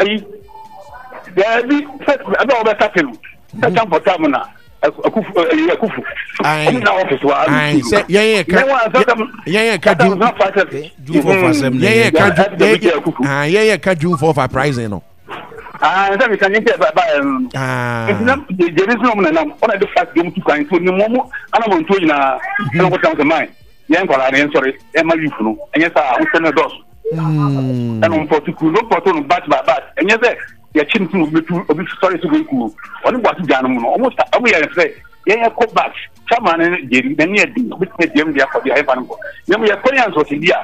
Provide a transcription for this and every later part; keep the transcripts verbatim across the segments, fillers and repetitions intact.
Ayi daabi sɛ ɛbɛ wɔbɛka te no sɛ tamfɔ tam na akufu ɛyi akufu Aye. ɔmo na ɔfis wa Aye, sɛ yɛn yɛ ka yɛn yɛ ka June June fourth asɛm na yɛn yɛ yɛ ka Yeah, June F W yɛn yɛ Akufu. ah, yɛn yɛ ka June fourth uprising no. Aa sɛ meka nye sɛ ɛba yɛ no no Ah. nti na gyeri nso na ɔmo nenam ɔna de fast de ɔmo tu kwan nti onim ɔmo anamontuo nyinaa ɛna ɔkɔ tɛm sɛ man yɛn nkwadaa no yɛn sɔre yɛn ma youth no ɛnyɛ saa ahosuo no dɔɔso Mm. ɛna ɔmo pɔtu kuru no pɔtu no batch by batch ɛnyɛ sɛ yɛkyi no sɛ obi tu obi sɔre so kɔ kuo ɔne bu ase gya no mu no ɔmo sa ɔmo yɛ sɛ yɛn yɛ kɔ batch chairman no gyeri n'ani yɛ den obi tumi diɛm deɛ akɔ deɛ ayɛfa no kɔ na mo yɛ kɔ ne ansɔte bi a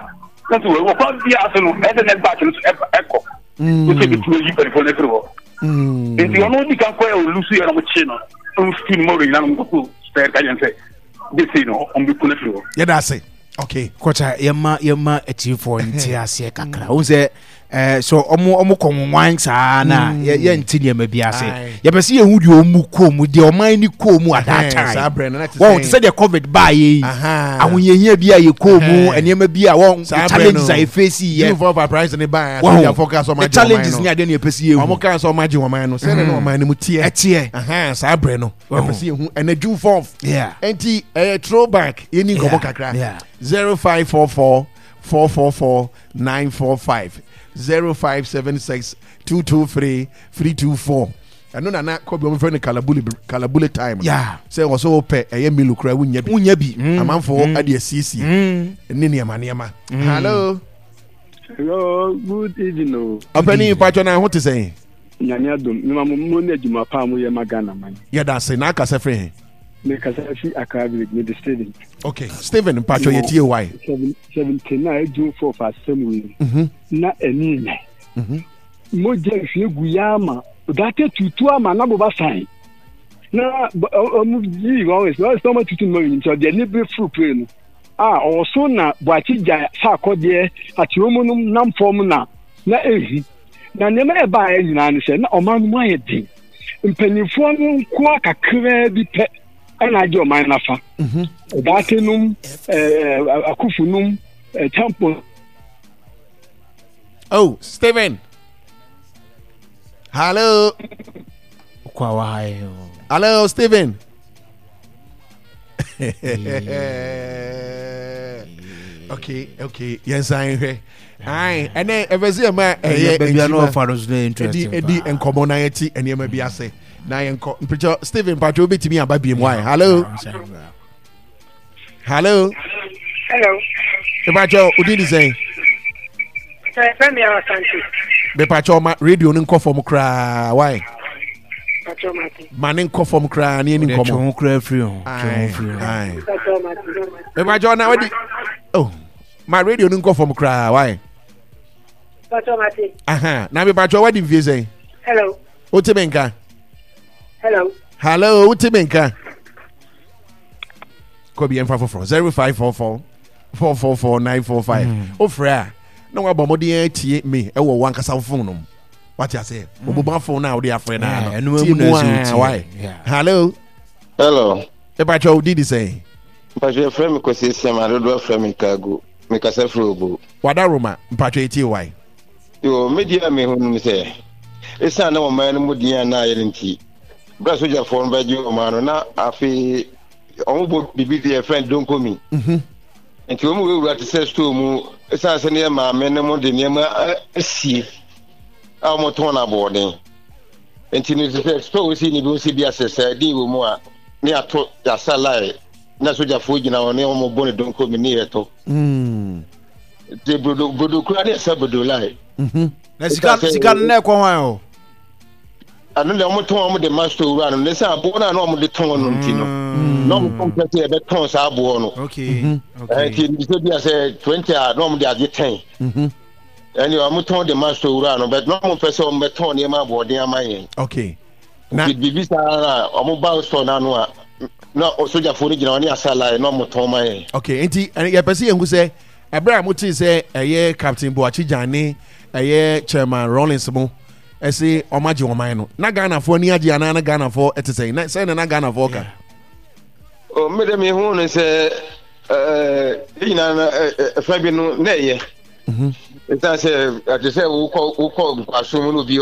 na so wɔ kwan bi ase no ɛsɛ ne batch no so ɛba- ɛkɔ Mm. wosɛ bi tumi yi mpanyinfoɔ no afiri hɔ Mm. nti ɔno di kan kɔ yɛ olusu yɛ na ɔmo kye no ɔmo fi no mɔro nyinaa na ɔmo kɔkɔ sɛ ka yɛn sɛ de sei no ɔmo bɛ kun afiri hɔ. Yɛda ase. Okay. Kɔkya yɛma yɛma atiefoɔ nte aseɛ kakra wohu sɛ eh, so ɔmo ɔmo kɔ nwanwan saa na yɛ- yɛnte nneɛma bi ase. Aye. Yɛpɛ sɛ yɛhu deɛ ɔmu kɔɔ mu, deɛ ɔman ni kɔɔ mu at that Ɛhɛn, time. saa berɛ no na te wɔn sɛ- te sɛ deɛ COVID baayɛ yi, Aha. ahohiahia bi a yɛkɔɔ mu, Ɛhɛn. nneɛma bi a wɔn Saa berɛ challenges no, a yɛfɛsi June yɛ fourth uprising ne baa wɔn asogyafoɔ kaa sɛ ɔmo the agye ɔman challenges no. ne adeɛ ne yɛpɛ sɛ Ɔmo yɛhu. kaa sɛ ɔmo agye ɔman no sɛdeɛ na ɔman no mu teɛ. Ɛteɛ. Aha, saa berɛ no Wɔn. yɛpɛ sɛ yɛhu ɛnɛ June fourth. Yeah. Nti ɛyɛ throwback, yɛni nkɔmmɔ Yeah, kakra. yeah. zero five four four four four four nine four five, zero five seven six two two three three two four. Ɛno nana kɔbi ɔmo fɛ no kalabule kalabule time no. Yeah. Sɛ wɔ sɛ wopɛ ɛyɛ Milo kora wonya bi. Wonya bi. Mm. Amanfoɔ ade asiesie Mm. ne nneɛma nneɛma. Hello. Hello, good evening o. Ɔpɛni, mpatwɔ na ho te sɛn? Nyame adom, mema mo mo ne adwuma pa a moyɛ ma Ghana man. Yɛda ase. Na akasɛ firi he? Mekasa fi Accra Village, mede Steven. Okay, Stephen, mpatwɔ yɛtie wae. Seven- Seventy nine June fourth asɛm wei. Mhm. Na ɛni nyɛ. Mhm. Mogya nhwie gu ya ama, date tutu ama na boba san. Na bɔ- ɔ- ɔmo yii wɔn sɛ ɔmo ɔmo tutu no nti ɔde ani bere furu pere no. A ɔwɔ so na Buakye gya sɛ akɔdeɛ akyerɛ mu no nam fam na na ehu. Na nneɛma a ɛbaeɛ nyinaa ne sɛ na ɔman no mu ayɛ den. Mpanimfoɔ no nkoa kakraa bi pɛ ɛna agye ɔman n'afa. Mhm. Ɔdaate nom, ɛɛ akufo nom, ɛɛ tampon. Oh, Stephen, hello. Kɔ a waha yɛ o. Hello, Stephen. okay okay yɛnsan hwɛ. Ayi, ɛnɛ ɛfɛ sɛ yɛma ɛyɛ baabi a na nkyima ɔfa no so na ɛdi interesting ɛdi paa. Nkɔmɔ na yɛti nneɛma bi ase na yɛnkɔ mpɛkyɛ. Stephen, mpatwɛ wobɛtumi aba biem wae. Hello, hello. Hello. Mpatwɛ, wodin de sɛn? Sɛ fẹ́ mi àwọn Asante. Mepatwɛ, ɔma radio no nkɔ fam koraa wae. Pàtó Mati. Ma ne nkɔ fam koraa ne yɛni Ɔde twe nkɔmmɔ. ho koraa firi ho, twe ho Aye, firi ho. Aye. Pàtó Mati. Mepatwɛ, na wadi oh ma radio no nkɔ fam koraa wae. Pàtó Mati. Aha, na mepatwɛ, wadi mfie sɛn? Hello. Wote me nka? Hello. Hello, wote me nka? Kɔbi yɛmfa foforɔ, zero five four four four four four nine four five. Wofrɛ a na wabɔ mmɔden atie me ɛwɔ wankasa wo phone no mu, wate aseɛ? Wobobɔ phone no a wode afrɛ no Yeah, no ɛno tie mu na mu ɛsɛ a wotie. wae. Yeah. Hello. Hello. Mepatwɛ, wo didi sɛn? Mpatwɛ, yɛfrɛ me Kwasi Siam, adodoɔ frɛ me Kago. Mekasa firi Obo. Wada Roma, mpatwɛ yɛtie wae. Yo, me deɛ a mehu no sɛ, ɛsiane na ɔman no mu din a na ayɛ no nti, berɛ a sogyafoɔ no bɛgye ɔman no, na afei ɔmo bɔ biribi deɛ yɛfrɛ no donkomi. Mhm. Nti wɔn wurawura te sɛ store mu, ɛsiane sɛ ne yɛ maame no mo de nneɛma a- asie a wɔtɔn no aboɔden. Nti no te sɛ store wosi ne bi wosi bi asɛ sɛ wɔ mu a, ne yɛato yɛasa line na sogyafoɔ gyina hɔ ne wɔn bɔ ne donkomi ne yɛtɔ. Mm. Nti brodo brodo kura ne yɛsa brodo line. Mhm. Na sika sika no na ɛkɔ hwan o? Ɛno deɛ, wɔn tɔn, wɔn de ma store wura no ne sɛ aboɔ no a na wɔn de tɔn no nti no na wɔn tɔn pɛ sɛ yɛbɛtɔn saa aboɔ no. Okay okay Ɛnti sɛ bi a sɛ twenty a na wɔn de agye ten. Mhm. Ɛnni wɔn tɔn de ma store wura no, but na wɔn pɛ sɛ wɔn bɛtɔn nneɛma aboɔden ama yɛn. Okay, na nti biribi saa na wɔn ba store n'ano a na sogyafoɔ no gyina hɔ ne asa line na wɔn tɔn ma yɛn. Okay, nti ɛ, yɛpɛ sɛ yɛnhu sɛ ɛberɛ a motee sɛ ɛyɛ Captain Boakye Gyan ne ɛyɛ Chairman Rawlings mo ɛse ɔmagye ɔman no, na Ghanafoɔ ani agye anaa na Ghanafoɔ ɛte sɛn? Na sɛn na na Ghanafoɔ ka? O, mi de mi hu no sɛ ɛɛ yɛn nyinaa no ɛ ɛ ɛfɛ bi no na ɛyɛ. Mhm. Ɛsiane sɛ ɛte sɛ wokɔ wokɔ nkwaso mu na obi